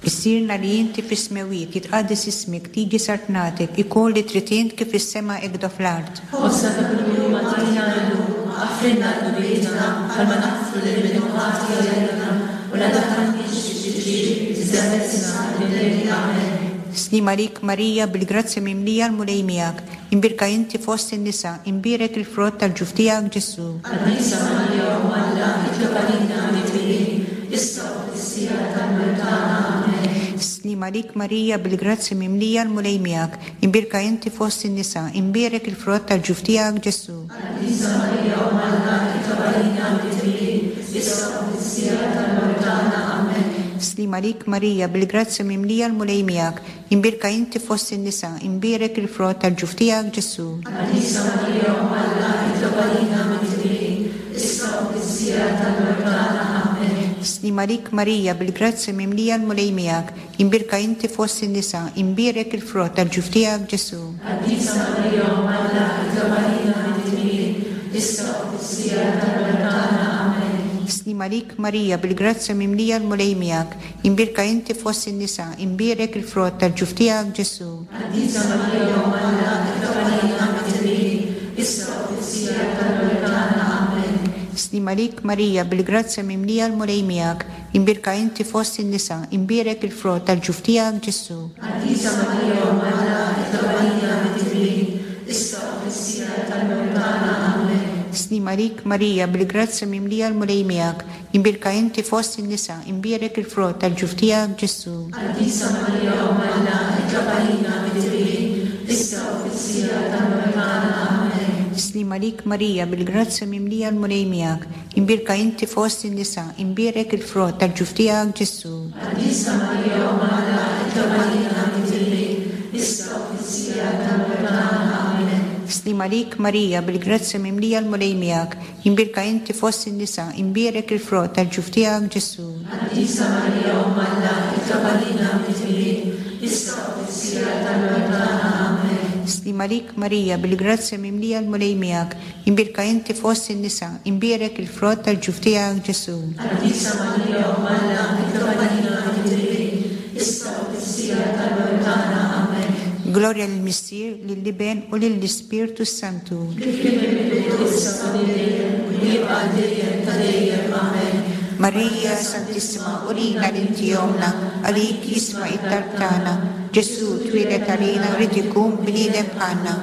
Missierna li inti fis-smewwiet, jitqaddes ismek, tiġi saltnatek, ikun li trid int kif fis-sema hekk do fl-art. Ħobżna ta' kuljum agħtina llum, aħfrilna dnubietna bħalma naħfru lil min hu ħati għalina, u la tdaħħalniex f'tiġrib, iżda eħlisna mill-deni. Amen. Sliem għalik Marija, bil-grazzja mimlija l-Mulej miegħek, imbierka inti fost in-nisa, imbierek il-frott tal-ġuf tiegħek Ġesù. Qaddisa Marija Omm Alla, itlob għalina midnibin, issa u fis-siegħa tal-mewt tagħna. Amen. Sliem għalik Marija, bil-grazzja mimlija l-Mulej miegħek, imbierka inti fost in-nisa, imbierek il-frott tal-ġuf tiegħek Ġesù. Qaddisa Marija Omm Alla, itlob għalina midnibin, issa u fis-siegħa tal-mewt tagħna. Amen. Sliem għalik Marija, bil-grazzja mimlija l-Mulej miegħek, imbierka inti fost in-nisa, imbierek il-frott tal-ġuf tiegħek Ġesù. Qaddisa Marija Omm Alla, itlob għalina midnibin, issa u fis-siegħa tal-mewt tagħna. Amen. Sliem għalik Marija, bil-grazzja mimlija l-Mulej miegħek, imbierka inti fost in-nisa, imbierek il-frott tal-ġuf tiegħek Ġesù. Qaddisa Marija Omm Alla, itlob għalina midnibin, issa u fis-siegħa tal-mewt tagħna. Amen. Sliem għalik Marija, bil-grazzja mimlija l-Mulej miegħek, imbierka inti fost in-nisa, imbierek il-frott tal-ġuf tiegħek Ġesù. Qaddisa Marija Omm Alla, itlob għalina midnibin, issa u fis-siegħa tal-mewt tagħna. Amen. Sliem għalik Marija, bil-grazzja mimlija l-Mulej miegħek, imbierka inti fost in-nisa, imbierek il-frott tal-ġuf tiegħek Ġesù. Qaddisa Marija Omm Alla, itlob għalina midnibin, issa u fis-siegħa tal-mewt tagħna. Amen. Sliem għalik Marija, bil-grazzja mimlija l-Mulej miegħek, imbierka inti fost in-nisa, imbierek il-frott tal-ġuf tiegħek Ġesù. Qaddisa Marija Omm Alla, itlob għalina midnibin, issa u fis-siegħa tal-mewt tagħna. Amen. Sliem għalik Marija, bil-grazzja mimlija l-Mulej miegħek, imbierka inti fost in-nisa, imbierek il-frott tal-ġuf tiegħek Ġesù. Qaddisa Marija Omm Alla, itlob għalina midnibin, issa u fis-siegħa tal-mewt tagħna. Amen. Sliem għalik Marija, bil-grazzja mimlija l-Mulej miegħek, imbierka inti fost in-nisa, imbierek il-frott tal-ġuf tiegħek Ġesù. Qaddisa Marija Omm Alla, itlob għalina midnibin, issa u fis-siegħa tal-mewt tagħna. Amen. Sliem għalik Marija, bil-grazzja mimlija l-Mulej miegħek, imbierka inti fost in-nisa, imbierek il-frott tal-ġuf tiegħek Ġesù. Qaddisa Marija Omm Alla, itlob għalina midnibin, issa u fis-siegħa tal-mewt tagħna. Amen. Glorja lill-Missier, lill-Iben u lill-Ispirtu s-Santu. Kif kien mill-bidu, issa u dejjem, u jibqa' dejjem ta' dejjem. Amen. Marija Santissima, urina li inti ommna, għalik jisma' it-talb tagħna. Ġesù twieled għalina rrid ikun bniedem bħalna.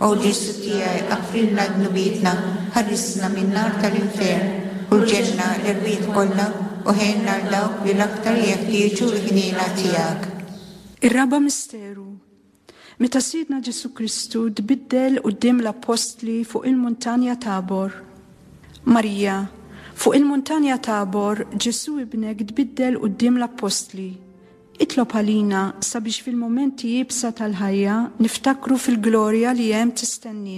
O Ġesù tiegħi, aħfrilna dnubietna, ħarisna min-nar tal-infern, u l-ġenna l-erwieħ kollha u ħenna għal dawk li l-aktar jeħtieġu l-ħniena tiegħek. Ir-raba' misteru. Meta Sidna Ġesù Kristu tbiddel quddiem l-appostli fuq il-muntanja Tabor. Marija, fuq il-muntanja Tabor, Ġesù ibnek tbiddel quddiem l-appostli. Itlob għalina sabiex fil-mumenti iebsa tal-ħajja niftakru fil-glorja li hemm tistenniena.